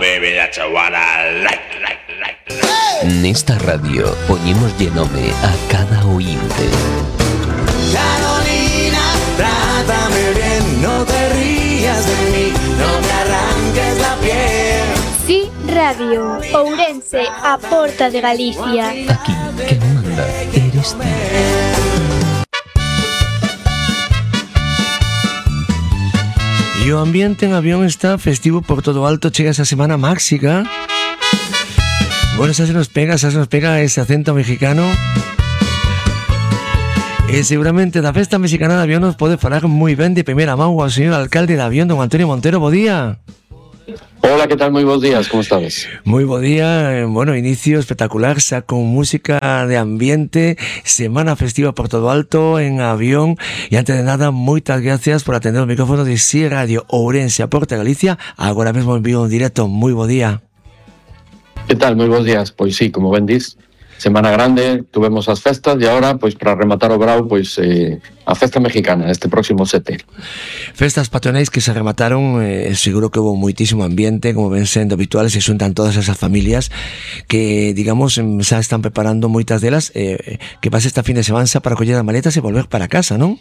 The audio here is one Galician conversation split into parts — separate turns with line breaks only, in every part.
baby, that's what I like.
Nesta radio poñémoslle nome a cada ointe.
Carolina, trátame bien, no te rías de mí, no me arranques la piel.
Sí, Radio, Ourense, a porta de Galicia.
Aquí, quen manda, eres ti.
E o ambiente en Avión está festivo por todo alto. Chega esa semana máxica. Bueno, xa se nos pega ese acento mexicano. E seguramente da festa mexicana de Avión nos pode falar moi ben de primeira mão ao señor alcalde de Avión, don Antonio Montero. Bo día.
Hola, ¿qué tal? Muy buenos días, ¿cómo estás?
Muy buen día, bueno, inicio espectacular, xa con música de ambiente, semana festiva por todo alto en Avión, e antes de nada, moitas gracias por atender o micrófono de Sí Radio Ourense a Porta Galicia. Agora mesmo envío un directo. Muy buen día.
¿Qué tal? Muy buenos días. Pois sí, como ben dis, semana grande, tuvemos as festas e agora, pois para rematar o brau, pois a festa mexicana este próximo 7.
Festas patronais que se remataron, seguro que hubo moitísimo ambiente, como ven sendo habituales, se xuntan todas esas familias que, digamos, xa están preparando moitas delas, que pase esta fin de semana para coller as maletas e volver para casa, non?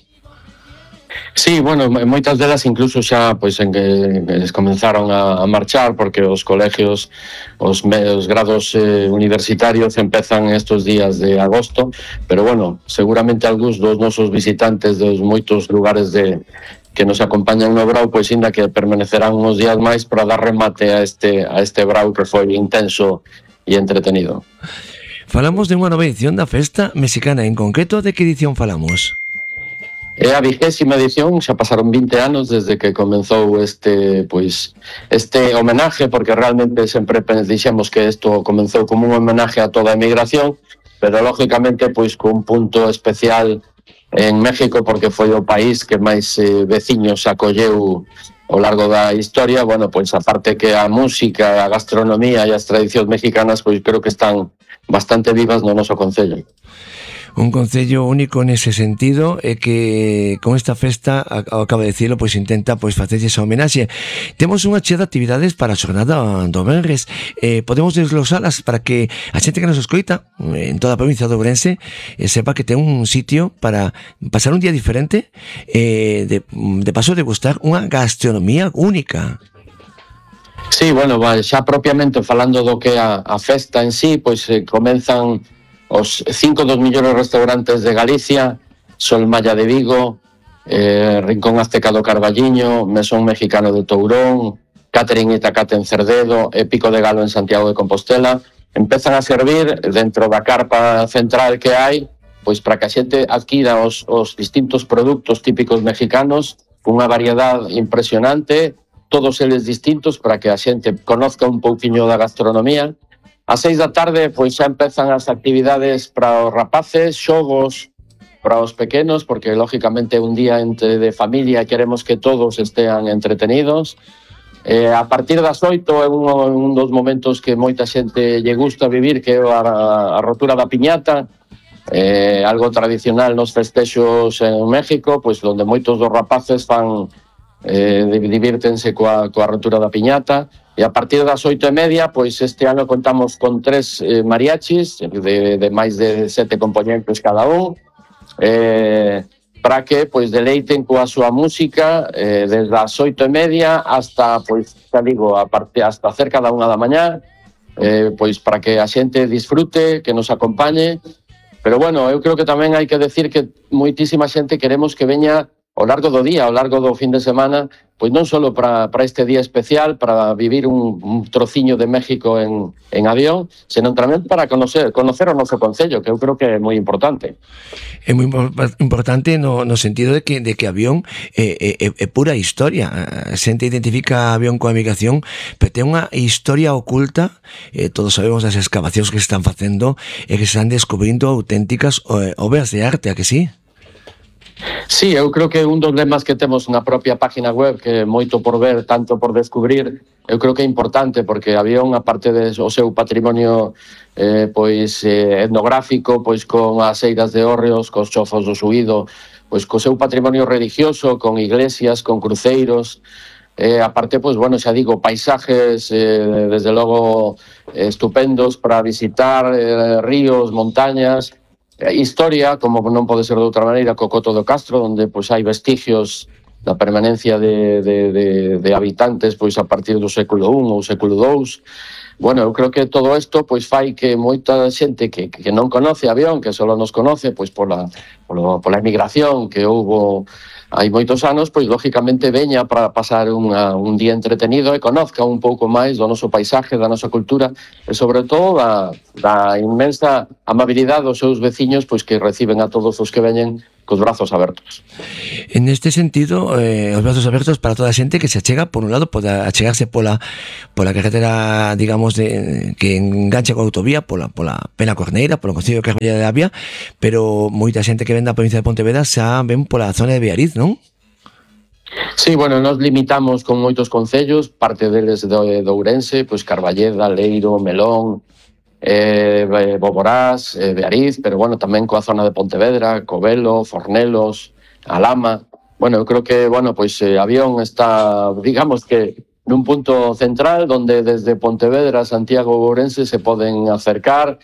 Sí, bueno, moitas delas incluso xa pois en que les comenzaron a marchar porque os colegios, os grados universitarios empezan estos días de agosto, pero bueno, seguramente algúns dos nosos visitantes dos moitos lugares que nos acompañan no brau, pois ainda que permanecerán uns días máis para dar remate a este brau que foi intenso e entretenido.
Falamos de unha nova edición da festa mexicana, en concreto de que edición falamos?
É a 20ª edición, xa pasaron 20 anos desde que comenzou este homenaje, porque realmente sempre dixemos que isto comenzou como un homenaje a toda a emigración, pero lógicamente pois con un punto especial en México, porque foi o país que máis veciños acolleu ao largo da historia. Bueno, pois aparte que a música, a gastronomía e as tradicións mexicanas, pois creo que están bastante vivas no noso concello.
Un concello único nese sentido e que con esta festa, acaba de dicirlo, pois intenta pois facerlle esa homenaxe. Temos unha chea de actividades para a xornada do venres. Podemos desglosalas para que a xente que nos escoita en toda a provincia de Ourense sepa que ten un sitio para pasar un día diferente, de paso de gustar unha gastronomía única.
Sí, bueno, xa propiamente falando do que a festa en sí, pois comenzan os 5 dos millores restaurantes de Galicia: Sol Maya de Vigo, Rincón Azteca do Carballiño, Mesón Mexicano de Tourón, Catering Itacate en Cerdedo e Pico de Galo en Santiago de Compostela. Empezan a servir dentro da carpa central que hai, pois para que a xente adquira os distintos produtos típicos mexicanos, cunha variedade impresionante, todos eles distintos para que a xente conozca un pouquiño da gastronomía. A 6 da tarde, pois xa empezan as actividades para os rapaces, xogos para os pequenos, porque lógicamente un día de familia queremos que todos estean entretenidos. A partir das 8 é un dos momentos que moita xente lle gusta vivir, que é a rotura da piñata, algo tradicional nos festexos en México, pois onde moitos dos rapaces divírtense coa rotura da piñata. E a partir das 8:30, pois este ano contamos con 3 mariachis de máis de 7 componentes cada un, para que pois deleiten coa súa música desde as 8:30 hasta, pois, xa digo, hasta cerca da 1 da mañá, pois para que a xente disfrute, que nos acompañe. Pero bueno, eu creo que tamén hai que decir que moitísima xente queremos que veña ao largo do día, ao largo do fin de semana, pois non só para este día especial, para vivir un trociño de México en Avión, senón tamén para conocer o noso concello, que eu creo que é moi importante.
É moi importante no sentido de que Avión é pura historia. A xente identifica a Avión coa migración, pero ten unha historia oculta. Todos sabemos das excavacións que se están facendo e que se están descubrindo auténticas obras de arte, a que sí?
Sí, eu creo que un dos lemas que temos na propia página web, que é moito por ver, tanto por descubrir, eu creo que é importante, porque Avión, aparte do seu patrimonio etnográfico, pois con as eiras de hórreos, cos chofos do Suído, pois co seu patrimonio religioso, con iglesias, con cruceiros, aparte, pues bueno, xa digo, paisajes desde logo estupendos para visitar, ríos, montañas, historia, como non pode ser de outra maneira, Cocoto do Castro, onde pois hai vestigios da permanencia de habitantes pois a partir do século I ou século II. Bueno, eu creo que todo isto pois fai que moita xente que non conoce Avión, que só nos conoce pois pola emigración que houbo hai moitos anos, pois lógicamente veña para pasar un día entretenido e conozca un pouco máis do noso paisaje, da nosa cultura e sobre todo da inmensa amabilidade dos seus veciños pois que reciben a todos os que veñen cos brazos abertos.
En este sentido, os brazos abertos para toda a xente que se achega, por un lado, pode achegarse pola carretera, digamos, que engancha coa autovía, pola Pena Corneira, polo concello de Carballeira de Avia, pero moita xente que ven da provincia de Pontevedra xa ven pola zona de Beariz, non?
Sí, bueno, nos limitamos con moitos concellos, parte deles de Ourense, pois Carballeda, Leiro, Melón, Boborás, Beariz, pero bueno, tamén coa zona de Pontevedra, Covelo, Fornelos, Alama. Bueno, eu creo que, bueno, pois Avión está, digamos que nun punto central donde desde Pontevedra, Santiago ou Ourense se poden acercar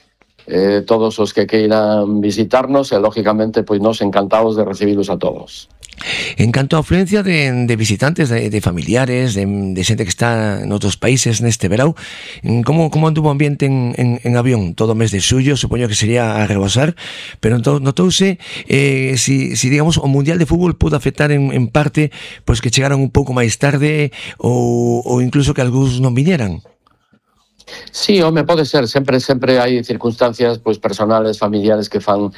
todos os que queiran visitarnos e, lógicamente, pois nos encantados de recibilos a todos.
En canto a afluencia de visitantes, de familiares, de xente que está en outros países neste verão, como anduvo o ambiente en Avión todo o mes de xullo? Supoño que sería a rebosar, pero notouse si digamos o Mundial de Fútbol pudo afectar en parte pois que chegaron un pouco máis tarde ou incluso que algúns non viñeran.
Sí, home, pode ser, sempre hai circunstancias pois personales, familiares que fan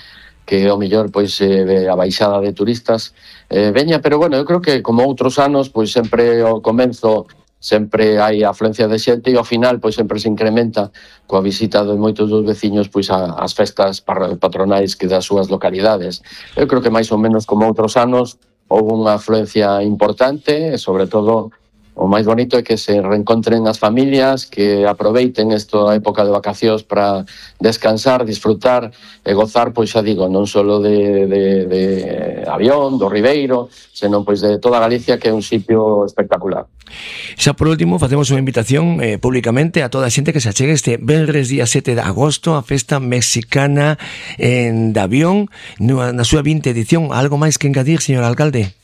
que ao mellor pois a baixada de turistas veña, pero bueno, eu creo que como outros anos, pois sempre ao comenzo sempre hai afluencia de xente e ao final pois sempre se incrementa coa visita de moitos dos veciños pois ás festas patronais que das súas localidades. Eu creo que máis ou menos como outros anos houve unha afluencia importante e sobre todo o máis bonito é que se reencontren as familias, que aproveiten esta época de vacacións para descansar, disfrutar e gozar, pois xa digo, non só de Avión, do Ribeiro, senón pois de toda Galicia, que é un sitio espectacular.
Xa por último, facemos unha invitación públicamente a toda a xente que se achegue este venres día 7 de agosto a festa mexicana de Avión na súa 20ª edición. Algo máis que engadir, señor alcalde?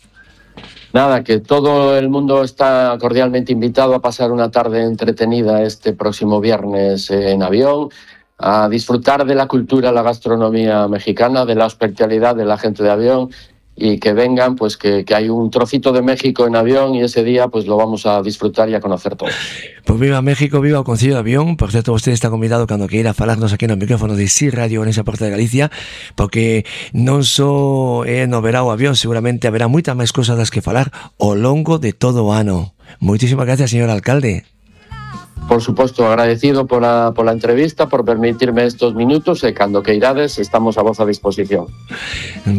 Nada, que todo el mundo está cordialmente invitado a pasar una tarde entretenida este próximo viernes en Avión, a disfrutar de la cultura, la gastronomía mexicana, de la hospitalidad de la gente de Avión y que vengan, pues que hay un trocito de México en Avión y ese día pues lo vamos a disfrutar y a conocer todos.
Pues viva México, viva o Concello de Avión. Por certo, usted está convidado cando que ir a falarnos aquí no micrófono de SI Radio en esa Porta de Galicia, porque non só no verao Avión, seguramente haberá moitas máis cosas das que falar ao longo de todo o ano. Moitísimas gracias, señor alcalde.
Por suposto, agradecido pola entrevista, por permitirme estos minutos e cando queirades estamos a vosa disposición.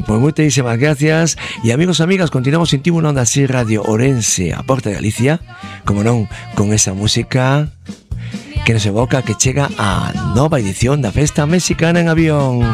Pues moitísimas gracias e amigos e amigas, continuamos en Tibu Onda SI Radio Ourense, a Porta de Galicia, como non, con esa música que nos evoca que chega a nova edición da Festa Mexicana en Avión.